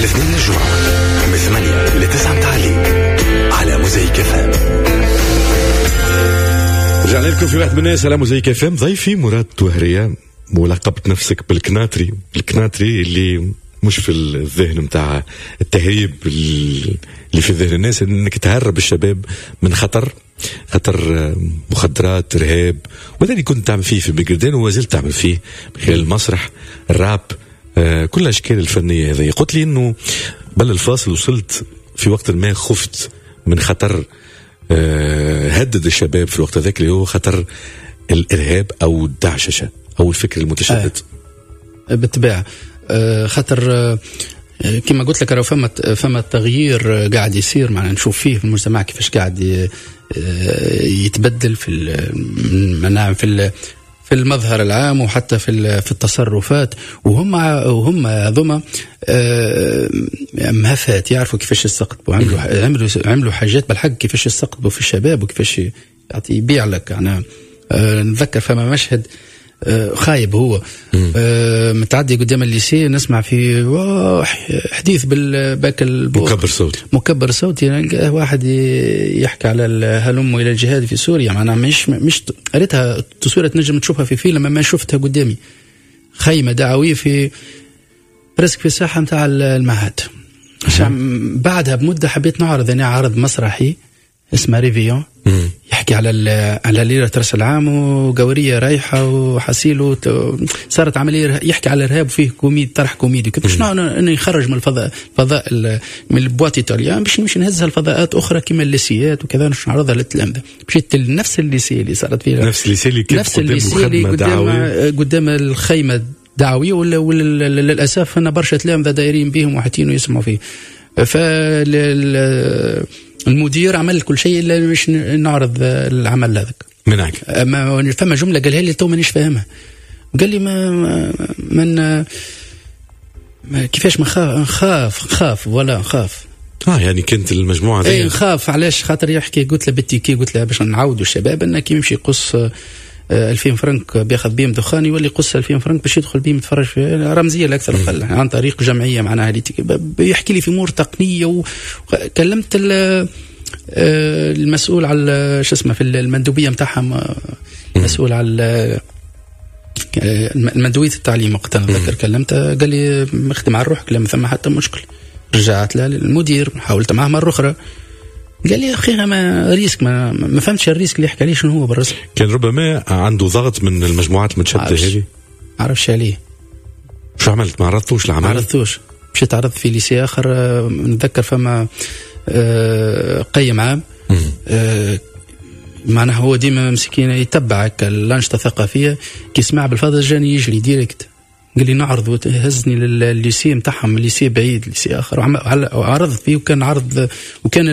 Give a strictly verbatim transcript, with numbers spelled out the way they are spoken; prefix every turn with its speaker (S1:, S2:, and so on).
S1: الاثنين للجمعة من ثمانية ل تسعة متاع الليل على موزايك اف ام.
S2: رجعنا لكم في واحد من الناس على موزايك اف ام. ضيفي مراد توهرية، ولقبت نفسك بالكناتري، الكناتري اللي مش في الذهن متاع التهريب اللي في ذهن الناس، انك تهرب الشباب من خطر، خطر مخدرات، ارهاب، وهذا اللي كنت تعمل فيه في بنقردان وما زلت تعمل فيه من خلال المسرح، الراب، آه، كل الاشكال الفنية هذه. قلت لي انه قبل الفاصل وصلت في وقت ما خفت من خطر آه، هدد الشباب في الوقت هذاك، اللي هو خطر الارهاب او الدعششه او الفكر المتشدد.
S3: آه. بالطبيعة آه، خاطر آه، كما قلت لك راه فما فما تغيير قاعد يصير، معنا نشوف فيه في المجتمع كيفاش قاعد يتبدل في نعم في في المظهر العام وحتى في في التصرفات، وهم وهم هذوما مهفات يعرفوا كيفاش يستقطبوا، عملوا عملوا عملوا حاجات بالحق كيفاش يستقطبوا في الشباب وكيفاش يعطي يبيع لك. يعني نتذكر فما مشهد خايب هو آه متعدي قدام ال lycée، نسمع في حديث بالباك
S2: مكبر صوتي،
S3: مكبر صوتي، يعني واحد يحكي على هلم الى الجهاد في سوريا. معناها مش مش قريتها تصويره تنجم تشوفها في فيلم، ما شفتها قدامي. خيمة دعويه في presque في الساحة نتاع المعهد. بعدها بمدة حبيت نعرض انا عرض مسرحي اسمه réveillon، يحكي على على ليلة راس العام وقوريه رايحة وحسيل، صارت عملية يحكي على الارهاب وفيه كوميد، طرح كوميدي، كيفاش انه يخرج من الفضاء الفضاء من ال boîte italienne باش نمشي نهزها لفضاءات اخرى كما الليسيات وكذا، باش نعرضها للتلامذه. مشيت لنفس ال lycée اللي صارت فيه،
S2: نفس ال lycée اللي كان
S3: نفس ال lycée اللي قدام قدام الخيمة الدعويه، ولا للاسف ان برشا تلامذه دايرين بهم وحاطين ويسمعوا فيه. فال المدير عمل كل شيء الا باش نعرض العمل هذاك.
S2: منعك.
S3: ما فما جملة قالها لي تو مانيش فاهمها، قال لي ما من ما كيفاش ما نخاف نخاف ولا نخاف.
S2: اه يعني كانت المجموعة
S3: ذي اي نخاف. علاش؟ خاطر يحكي، قلت له بال ticket، قلت له باش نعاودوا الشباب ان كي يمشي يقص ألفين فرنك بياخذ بيهم دخان، يولي يقص ألفين فرنك باش يدخل بيهم يتفرج في رمزية لا اكثر اقل عن طريق جمعية معناها. بيحكي لي في امور تقنية، وكلمت المسؤول على شو اسمه في المندوبيه نتاعهم، المسؤول على المندوبيه التعليم وقتها نتذكر كلمته، قال لي اخدم على روحك، لا ثم حتى مشكل. رجعت للمدير، حاولت معه مرة اخرى، قال لي يا اخي ما risque، ما, ما فهمتش ال risque اللي يحكي عليه شنو هو بالرسم.
S2: كان ربما عنده ضغط من المجموعات المتشدده هذه.
S3: عرفش عليه.
S2: شو عملت؟ ما عرضتوش العمل؟
S3: ما عرضتوش، مشيت عرضت في lycée اخر. نتذكر فما قيم عام، معناها هو ديما مسكين يتبعك الانشطة الثقافيه، كي سمع بالفضل جاني يجري direct، قال لي نعرض، هزني للل lycée نتاعهم، lycée بعيد، lycée اخر، وعرضت فيه وكان عرض وكان